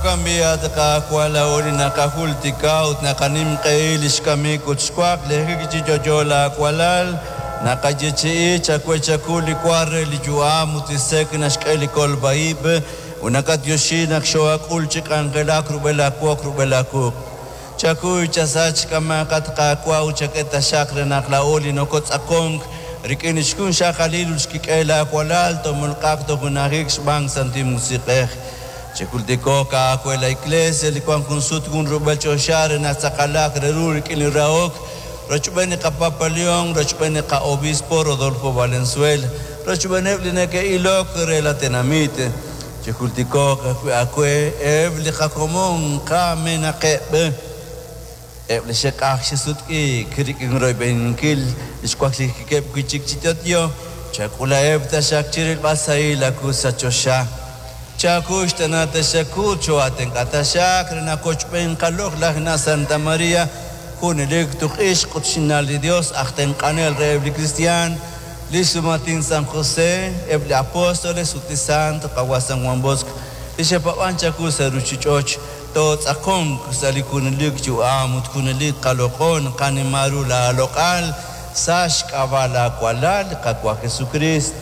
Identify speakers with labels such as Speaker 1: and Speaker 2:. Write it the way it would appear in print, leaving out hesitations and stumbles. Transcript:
Speaker 1: Jo'kan b'i', at Qaawa', laa'o li naqajultika ut naqanimq'ehi li xkamik ut xwaklijik chi yo'yo laawalal, naqayeechi'i chawe chaku li wa re li yu'am ut li sek' naxk'e li kolb'a ib', ut naqatyoxi naq xoo'ak'ul chi k'anjelak rub'el aawoq rub'el aawuq'. Chakuy chasach qamaak, at Qaawa', ut chak'e taxaq re naq laa'o li nokotz'aqonk rik'in li xjunxaqalil ut xkik'el laawalal toomolq'aq toj junajik xb'aan Santil Musiq'ej. Chijultiko'q aawe la Iglesia li wank junsut junrub'el choxa re naq tz'aqalaq re ru rik'in li rahok, rochb'een li qaPapa León, rochb'een li qa'obispo Rodolfo Valenzuela, rochb'eeneb' li neke'ilok re la tenamit. Chijultiko'q ajwi' aawe eb' li qakomon kamenaqeb', eb' li xe'q'ajk xe'sutq'iik rik'in royb'eninkil li xwaklijikeb' wi' chik chi yo'yo, chak'ulaheb' taxaq chi rilb'al sahil aawu sa' choxa. Chakuxtana taxaq ut choo'aatenq'a taxaq re naq qochb'een qaloq'laj na' Santa María, junelik tuq'ixq ut xna' li Dios aj tenq'anel reheb' li kristiaan, li xsumatin San José, eb' li apóstoles ut li sant qawa' San Juan Bosco, li xe'paab'ank chawu sa' ruuchich'och', tootz'aqonq sa' li junelik yu'am ut junelik qaloq'on qanima ru laaloq'al sa' xk'ab'a' laawalal, Qaawa' Jesucrist.